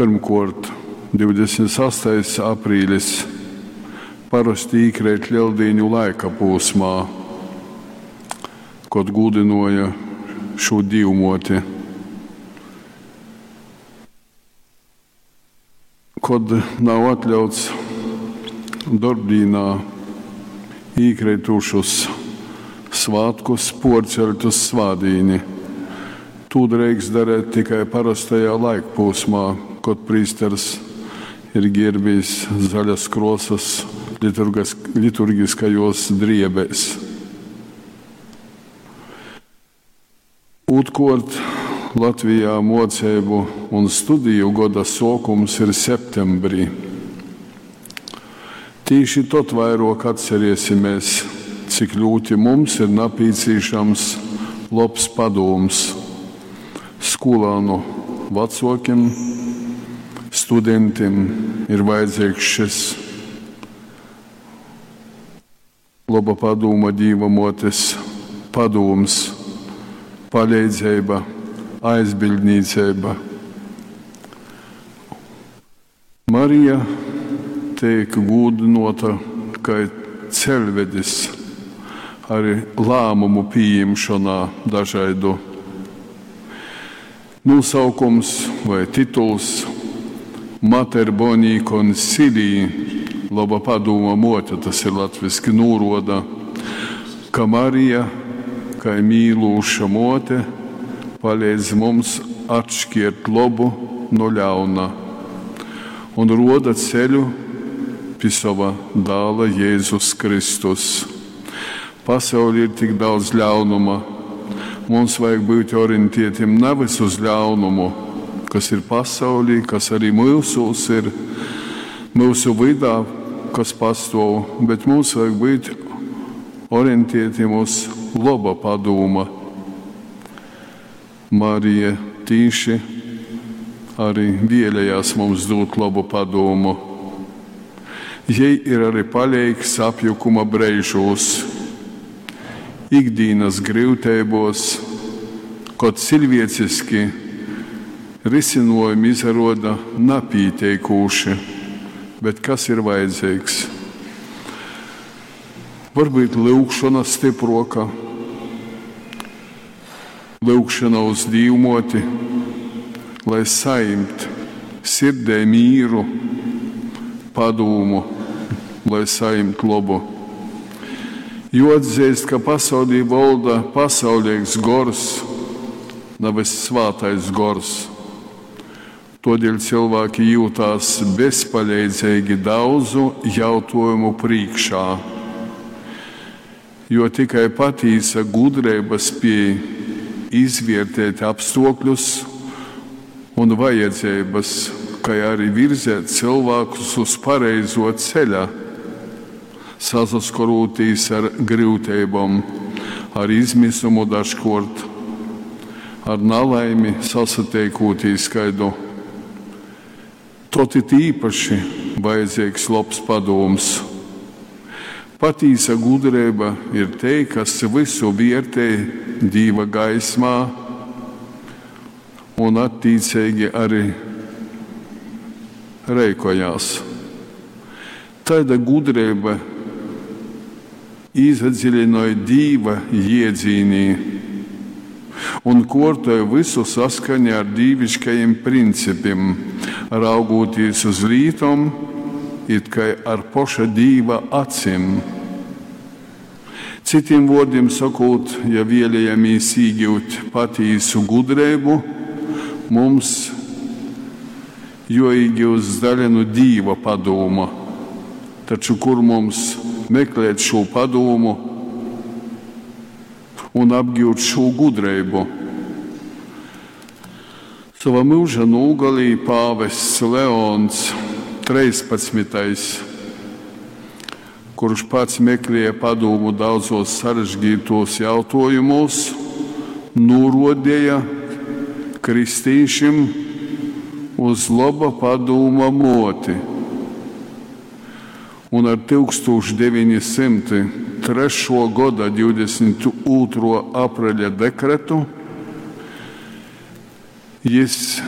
Pyrmkuort, 28. aprīlis parosti īkreit Leldīņu laika pūsmā, kod gūdynuoja šū Dīvmuoti. Kod nav atļauts dorbdīnā īkreitušus svātkus puorceļt uz svātdīni. Tū dreikst darēt tikai parostajā laikpūsmā, kod prīsters ir gierbīs zaļas kruosys liturgiskajuos driebēs. Ūtrkuort, Latvijā muoceibu un studiju goda suokums ir septembrī. Tīši tod vairuok atceriesimēs, cik ļūti mums ir napīcīšams lobs padūms skūlānu vacuokim, studentim ir vajadzeigs šis loba padūma Dīva muotes padūms, paleidzeiba, aizbiļdnīceiba. Marija teik gūdynuota kai ceļvedis ari lāmumu pījimšonā dažaidu. Nūsaukums voi tituls Mater Boni Consilii, loba padūma muote, tas ir latviski, nūruoda, ka Marija kai mīlūša muote paleidz mums atškiert lobu nu ļauna un ruoda ceļu pi sova dāla Jēzus Kristus. Pasaulī ir tik daudz ļaunuma. Mums vajag byut orientietim navys uz ļaunumu, kas ir pasaulī, kas arī myusūs ir, myusu vydā, kas pastuov, bet mums vajag byut orientietim uz loba padūma. Marija tīši arī vēlējās mums dūt lobu padūmu. Jei ir arī paleigs apjukuma breižūs, ikdīnas gryuteibos, kod ciļvieciski risinojumi izaruoda napīteikūši, bet kas ir vajadzeigs? Varbyut lyugšona stypruoka, lyugšona uz Dīvmuoti, lai sajimt sirdē mīru, padūmu, lai sajimt lobu. Juoatzeist, ka pasaulī volda pasauleigs gors, navys svātais gors. Tuodeļ cylvāki jiutās bezpaleidzeigi daudzu jautuojumu prīškā, jo tikai patīsa gudreiba spiej izviertēt apstuokļus un vajadzeibys, kai ari virzēt cylvākus uz pareizuo ceļa, sasaskorūtīs ar gryuteibom, ar izmisumu dažkuort, ar nalaimi sasateikūtīs kaidu. Tod it īpaši vajadzeigs lobs padūms. Patīsa gudreiba ir tei, kas vysu viertej Dīva gaismā un attīceigi ari reikojās. Taida gudreiba īsadzilinoj Dīva jiedzīnī un kuortoj vysu saskaņā ar dīviškajim principim, raugūtīs uz lītom it kai ar poša Dīva acim. Cytim vuordim sokūt, ja vēlejamīs īgiut patīsu gudreibu, mums juoīgiust daļa nu Dīva padūma. Taču kur mums meklēt šū padūmu un apgiut šū gudreibu? Sova myuža nūgalī pāvests Leons 13., kurš pats meklēja padūmu daudzos sarežģītos jautājumos, nūruodeja kristīšim uz loba padūma muoti. Un ar 1903. Goda 22. apreļa dekretu jis